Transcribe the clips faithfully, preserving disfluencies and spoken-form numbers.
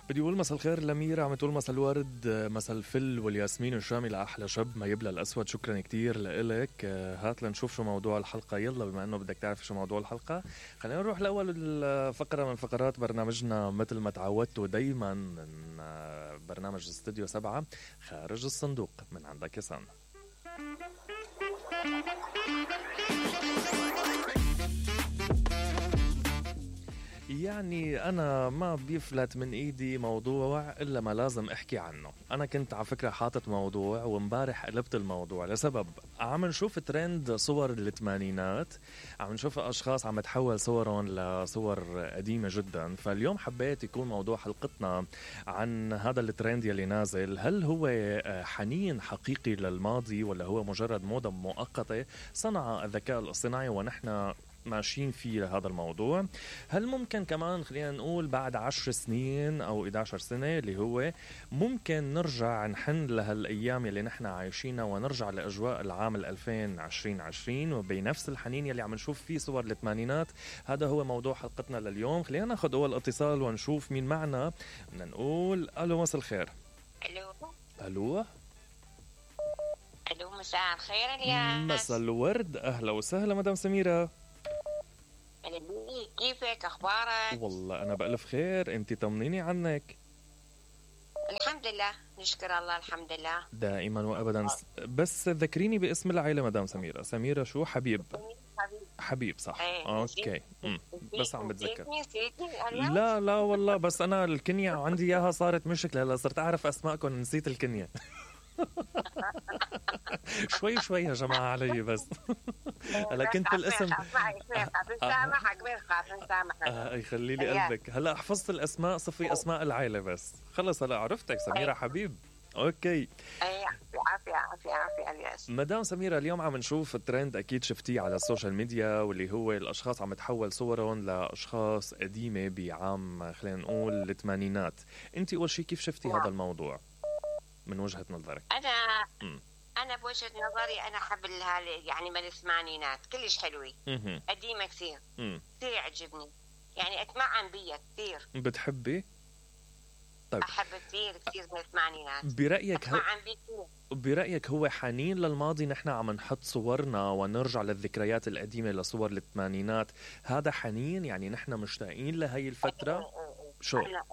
بدي اقول مساء الخير لميرا، عم تقول مساء الورد، مساء الفل والياسمين الشامي لاحلى شب ما يبلى الاسود. شكرا كتير لإلك. هات لنشوف شو موضوع الحلقه. يلا بما انه بدك تعرف شو موضوع الحلقه، خلينا نروح لاول الفقره من فقرات برنامجنا مثل ما تعودتوا دايما من برنامج استوديو سبعة، خارج الصندوق. من عندك يا سان. يعني أنا ما بيفلت من إيدي موضوع إلا ما لازم أحكي عنه. أنا كنت على فكرة حاطط موضوع ومبارح قلبت الموضوع لسبب عم نشوف ترند صور الثمانينات، عم نشوف أشخاص عم تحول صورهم لصور قديمة جدا. فاليوم حبيت يكون موضوع حلقتنا عن هذا الترند يلي نازل. هل هو حنين حقيقي للماضي ولا هو مجرد موضة مؤقتة صنع الذكاء الاصطناعي ونحن ماشيين فيه لهذا الموضوع؟ هل ممكن كمان خلينا نقول بعد عشر سنين أو إحدى عشرة سنة اللي هو ممكن نرجع نحن لهالأيام اللي نحن عايشينها ونرجع لأجواء العام الألفين عشرين عشرين وبنفس الحنين يلي عم نشوف فيه صور الثمانينات؟ هذا هو موضوع حلقتنا لليوم. خلينا ناخد أول اتصال ونشوف مين معنا. بدنا نقول ألو، مساء الخير. ألو ألو ألو مساء الخير يا مساء الورد، أهلا وسهلا مدام سميرة. كيفك؟ أخبارك؟ والله أنا بألف خير، أنت طمنيني عنك. الحمد لله، نشكر الله، الحمد لله دائما وأبدا. بس ذكريني باسم العائلة مدام سميرة. سميرة شو؟ حبيب حبيب حبيب صح. ايه. أوكي مم. بس عم بتذكر. نسيتني نسيتني لا لا والله، بس أنا الكنية عندي إياها صارت مشكلة. هلا صرت أعرف أسماءكم نسيت الكنية. شوي شوي يا جماعة علي بس. هلا كنت الاسم آه يخلي لي قلبك. هلا حفظت الأسماء، صفي أسماء العائلة بس. خلص هلا عرفتك سميرة حبيب. أوكي عافية عافية عافية الياس. مدام سميرة، اليوم عم نشوف الترند أكيد شفتيه على السوشيال ميديا، واللي هو الأشخاص عم تحول صورهم لأشخاص قديمة بعام خلينا نقول الثمانينات. أنت أول شيء كيف شفتي هذا الموضوع من وجهة نظرك؟ أنا م. أنا بوجهة نظري أنا أحب يعني من الثمانينات كلش حلوة، قديمة كثير كثير يعجبني، يعني أتمعن بيها كثير. بتحبي؟ طيب. أحب كثير كثير من الثمانينات. برأيك هو هو... برأيك هو حنين للماضي؟ نحن عم نحط صورنا ونرجع للذكريات القديمة لصور الثمانينات، هذا حنين؟ يعني نحن مشتاقين لهي الفترة؟ شو؟ أنا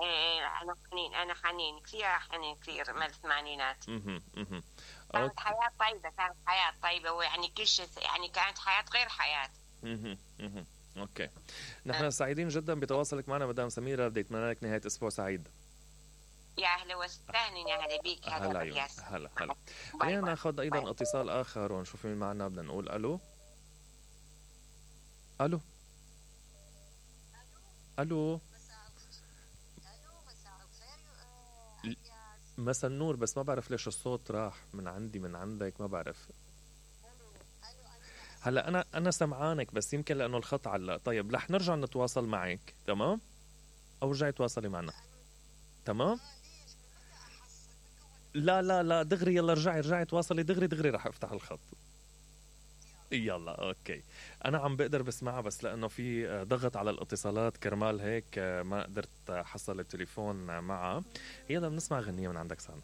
أنا حنين أنا حنين كثير حنين كثير من الثمانينات. اها اها كانت حياة طيبة، كانت حياة طيبة، ويعني كل شيء يعني كانت حياة غير حياة. اها اها اوكي. نحن أه. سعيدين جدا بتواصلك معنا مدام سميرة. بدي اتمنى لك نهاية اسبوع سعيد. يا اهلا وسهلا، يا هلا بيك. هلا هلا هلا. خلينا ناخذ ايضا باي. اتصال اخر ونشوف مين معنا. بدنا نقول الو الو الو مساء النور. بس ما بعرف ليش الصوت راح من عندي من عندك، ما بعرف. هلا انا انا سمعانك بس يمكن لانه الخط علق. طيب رح نرجع نتواصل معك، تمام؟ او رجعي تواصلي معنا، تمام؟ لا لا لا دغري، يلا رجعي رجعي تواصلي دغري دغري رح افتح الخط. يلا اوكي. انا عم بقدر بسمعها بس لانه في ضغط على الاتصالات كرمال هيك ما قدرت حصل التليفون معها. يلا بنسمع غنية من عندك سان.